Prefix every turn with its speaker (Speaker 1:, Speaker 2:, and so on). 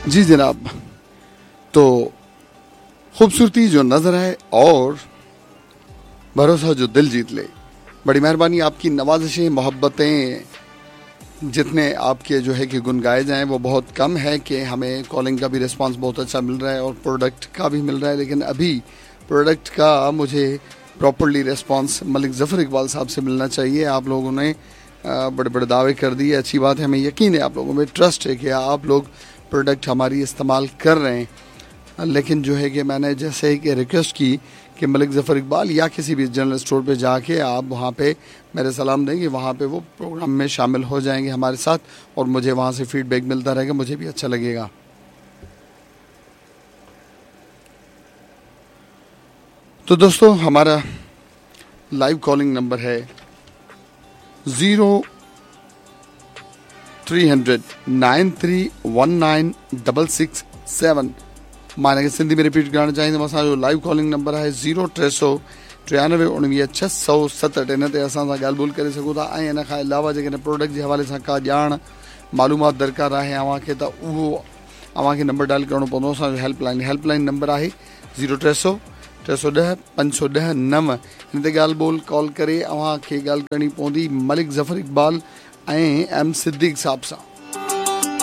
Speaker 1: जी जनाब, तो खूबसूरती जो नज़र है और भरोसा जो दिल जीत ले। बड़ी मेहरबानी आपकी, नवाजिशें, मोहब्बतें जितने आपके जो है कि गुन गाए जाएं वो बहुत कम है कि हमें कॉलिंग का भी रिस्पांस बहुत अच्छा मिल रहा है और प्रोडक्ट का भी मिल रहा है, लेकिन अभी प्रोडक्ट का मुझे प्रॉपरली रिस्पांस मलिक ज़फ़र इकबाल साहब से मिलना चाहिए। आप लोगों ने बड़े बड़े दावे कर दिए, अच्छी बात है, हमें यकीन है आप लोगों में ट्रस्ट है कि आप लोग प्रोडक्ट हमारी इस्तेमाल कर रहे हैं, लेकिन जो है कि मैंने जैसे कि रिक्वेस्ट की कि मलिक ज़फ़र इकबाल या किसी भी जनरल स्टोर पे जाके आप वहाँ पे मेरे सलाम देंगे, वहाँ पे वो प्रोग्राम में शामिल हो जाएंगे हमारे साथ और मुझे वहाँ से फीडबैक मिलता रहेगा, मुझे भी अच्छा लगेगा। तो दोस्तों हमारा लाइव कॉलिंग नंबर है 0300 9319 667। मां हिनखे सिंधी में रिपीट करणु चाहींदुमि, असांजो लाइव कॉलिंग नंबर आहे 0300 93 19 667। इन ते असां सां ॻाल्हि ॿोल करे सघो था ऐं इन खां अलावा जेकॾहिं प्रोडक्ट जे हवाले सां का ॼाण मालूमात दरकार आहे अव्हांखे त उहो अव्हांखे नंबर डायल करिणो पवंदो। असांजो हेल्पलाइन नंबर आहे 0300 310 510 9। हिन ते ॻाल्हि ॿोल कॉल करे अव्हांखे ॻाल्हि करणी पवंदी मलिक ज़फ़र इकबाल ऐं एम सिद्दीक साहब सां।